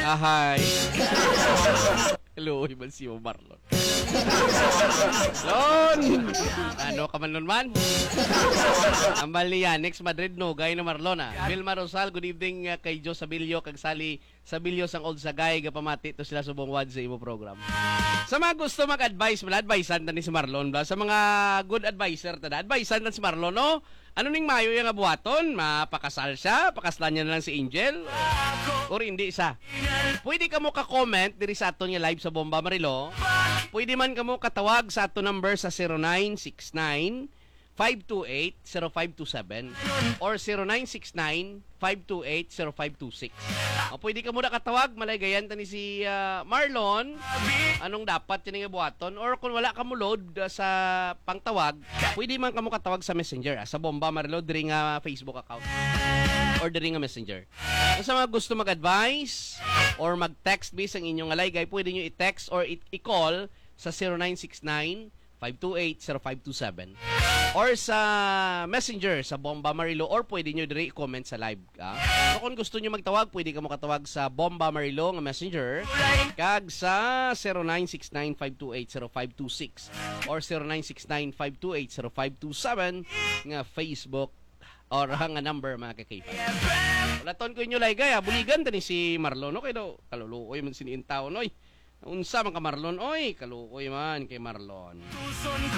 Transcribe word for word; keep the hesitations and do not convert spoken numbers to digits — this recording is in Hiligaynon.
Ahay. Hello, man si Marlon. Lon! Ano ka man nun man? Ambal ni Yanix Madrid, no? Gay na Marlon, ah. Vilma Rosal, good evening, ah, kay Joe Sabilio, kag Sally Sabilio sang Old Sagay, gapamati to sila subong wad sa imo program. Sa mga gusto mag-advise, wala, advisean ta ni si Marlon, bla. Sa mga good adviser, tada, advisean ta si Marlon, no? Ano ning mayo iya nga buhaton? Mapakasal siya? Pakaslan niya na lang si Angel? Or hindi siya? Pwede kamo ka-comment diri sa aton nga live sa Bomba Marilo. Pwede man kamo katawag sa aton number sa zero nine six nine, five two eight, zero five two seven or zero nine six nine, five two eight, zero five two six. O, pwede kamo nakatawag, malaygayan ta ni si, ah, Marlon. Anong dapat ini nga buhaton? Or kung wala kamo load, ah, sa pangtawag, pwede man kamo katawag sa Messenger, ah, sa Bomba Marilo, diri nga Facebook account or diri nga Messenger. Sa mga gusto mag-advise or mag-text, bisang inyo nga laygay, pwede nyo i-text or i- i-call sa zero nine six nine, five two eight, zero five two seven. Or sa Messenger, sa Bomba Marilo, or pwede nyo diri i-comment sa live, ah. Pero kung gusto nyo magtawag, pwede kamo katawag sa Bomba Marilo nga Messenger, kag sa zero nine six nine, five two eight, zero five two six or zero nine six nine, five two eight, zero five two seven nga Facebook or nga number, mga kakaipan. Ulaton ko inyo, laygay, ah. Buligan ta ni si Marlon, no? Kay daw, kaluluoy man sini in town, oy. Unsa man ka, Marlon, oy? Kaluoy man kay Marlon.